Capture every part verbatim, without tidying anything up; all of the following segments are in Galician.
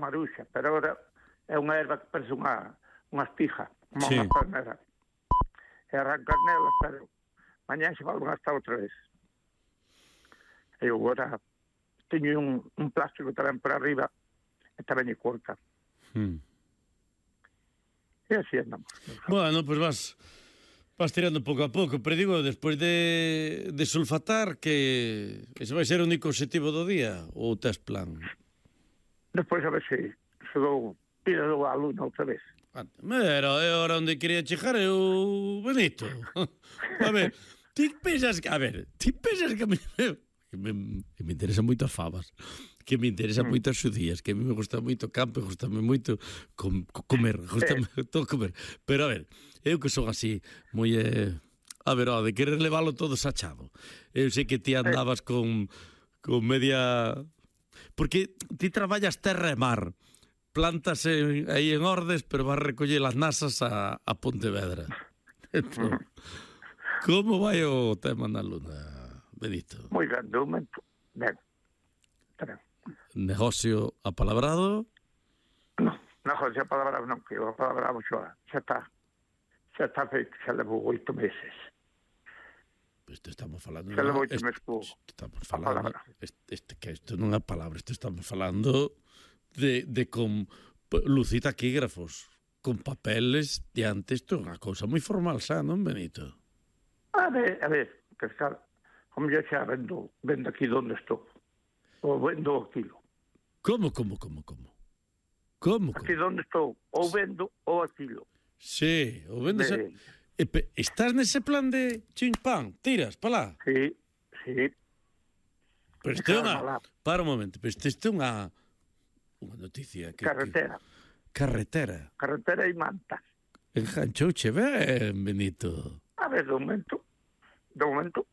maruxa, pero agora é unha erva que parece unha, unha espija, como Sí. unha palmera. E arrancas nelas, pero mañá se volven a estar outra vez. E eu agora teño un, un plástico tamén por arriba e tamén lle corta. Mm. E así andamos. Bueno, pois pues vas vas tirando pouco a pouco, pero digo, despois de, de sulfatar, que ese vai ser o único objetivo do día, ou tes plan? Despois a ver se, se dou tira do a luna outra vez. Pero é hora onde quería chegar eu, Benito. A ver, ti pensas que, a ver, ti pensas que me, que me, que me interesan moito as favas, que me interesan Mm. moito as xudías, que a mí me gusta moito o campo, gustame moito com, comer, gustame todo comer. Pero a ver, eu que son así, moi eh, a ver, ó, de querer leválo todo sachado. Eu sei que ti andabas con con media, porque ti traballas terra e mar. Plantas en, aí en Ordes, pero vas recoller as nasas a, a Pontevedra. Entón, como vai o tema na luna, Benito? Moi ben, de momento, ben. Tamén. Negocio apalabrado? Non, non, xa palabra non, que a palabra xa, xa está, xa está feito, xa levou oito meses. Isto estamos falando... Xa levou oito est- meses co, Estamos a falando... palabra. Este, este, que isto non é palabra, isto estamos falando de, de con p- lucitaquígrafos, con papeles diante, isto é unha cousa moi formal xa, non, Benito? A ver, a ver, que está, como yo xa vendo, vendo aquí donde estou, ou vendo aquilo. Como, como, como, como? Como, Aquí como? donde estou, ou vendo ou aquilo. Sí, o vendes... A... De, E pe- estás nese plan de chimpán, tiras, pa lá. sí, sí, Pero isto é Claro, unha... alá. Para un momento, pero isto isto é unha... Unha noticia que... carretera, Que... Carretera. carretera e mantas. Enganchouche ben, Benito. A ver, de momento, de momento,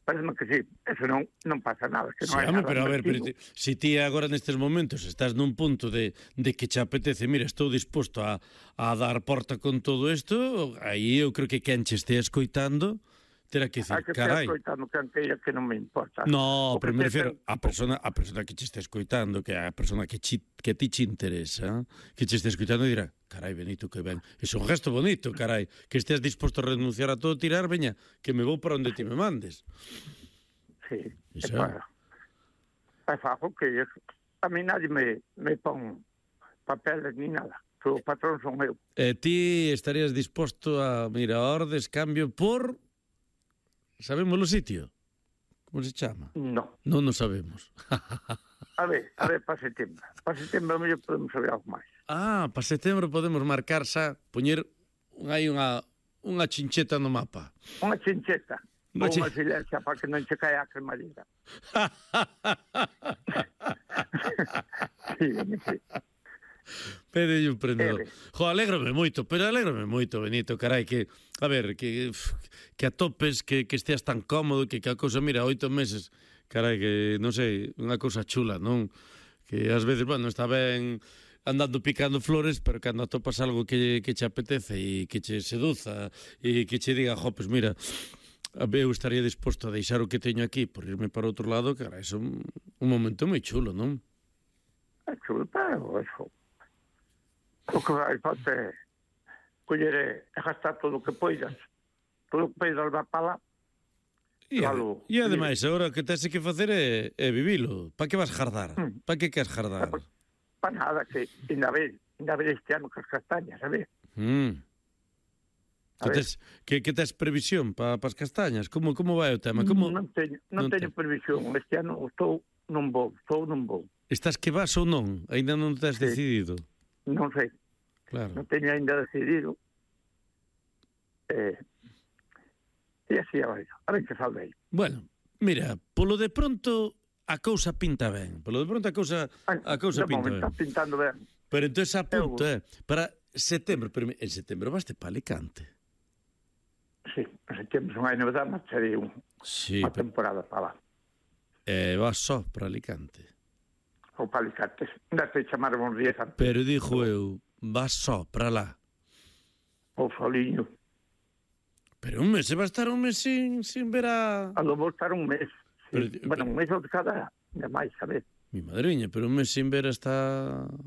parece que sí, eso non, non pasa nada, que Sí, non hai home, nada pero a ver, pero metido. ti, si ti agora nestes momentos estás nun punto de, de que che apetece, mira, estou disposto a, a dar porta con todo isto, aí eu creo que quen che estea escoitando terá que Hai decir, que estar carai. escoitando que queira que non me importa. No, O que pero me te refiero ten- a persona a persona que che está escoitando, que é a persona que chi, que ti che interesa, que che está escoitando e dirá, carai, Benito, que ben. É un gesto bonito, carai, que estés disposto a renunciar a todo, tirar, veña, que me vou para onde ti me mandes. Sí, Iso. é para... É fajo que es, a mí nadie me, me pon papeles ni nada. O patrón son eu. E ti estarías disposto a, mira, a ordes, cambio por... Sabemos o sitio? Como se chama? No. Non nos sabemos. A ver, a ver, para setembro. Para setembro a mellor podemos saber algo máis. Ah, para setembro podemos marcar xa, poñer hai unha, unha chincheta no mapa. Unha chincheta. Unha Ou chin- unha silencia para que non che caia a cremallera. Sí, sí. Pede un prendedor. Ere. Jo, alégrome moito, pero alégrome moito, Benito, carai, que, a ver, que, que atopes, que, que esteas tan cómodo, que, que a cousa, mira, oito meses, carai, que, non sei, unha cousa chula, non? Que ás veces, bueno, está ben andando picando flores, pero cando atopas algo que, que che apetece e que che seduza e que che diga, jo, pues mira, eu estaría disposto a deixar o que teño aquí por irme para outro lado, carai, é un, un momento moi chulo, non? É chulo, pero eso. O que vai falta é coller e gastar todo o que poidas. Todo o que poidas va para lá. E, Claro. e ademais, agora o que tens que facer é, é vivilo. Pa que vas jardar? Mm. Pa que queres jardar? Para nada, que ainda ve, ainda ve este ano que as castañas, a ver? Mm. A Que ver. tes, que, que tes previsión pa, pa as castañas? Como, como vai o tema? Como, Non teño, non non teño te- previsión. Este ano estou, non vou, estou, non vou. Estás que vas ou non? Ainda non tes Sí. decidido? Non sei, Claro. non teño ainda decidido. Eh, e así, a ver, a ver que salve aí. Bueno, mira, polo de pronto a cousa pinta ben. Polo de pronto a cousa, a cousa de pinta momento, ben. está pintando ben. Pero entón a punto, Eu- eh? Para setembro, pero en setembro vaste pa Alicante. Sí, en setembro son hai novedade, marcharei un, Sí, unha pero, temporada para lá. eh, vas só para Alicante. Ou para Alicantes. Ainda te chamaron uns días antes. Pero dixo eu, vas só para lá. Ou soliño. Pero un mes, se va a estar un mes sin, sin ver a... A lo vou estar un mes. Sí. Pero- bueno, un mes ou de cada, de máis, a ver. Mi madriña, pero un mes sin ver hasta...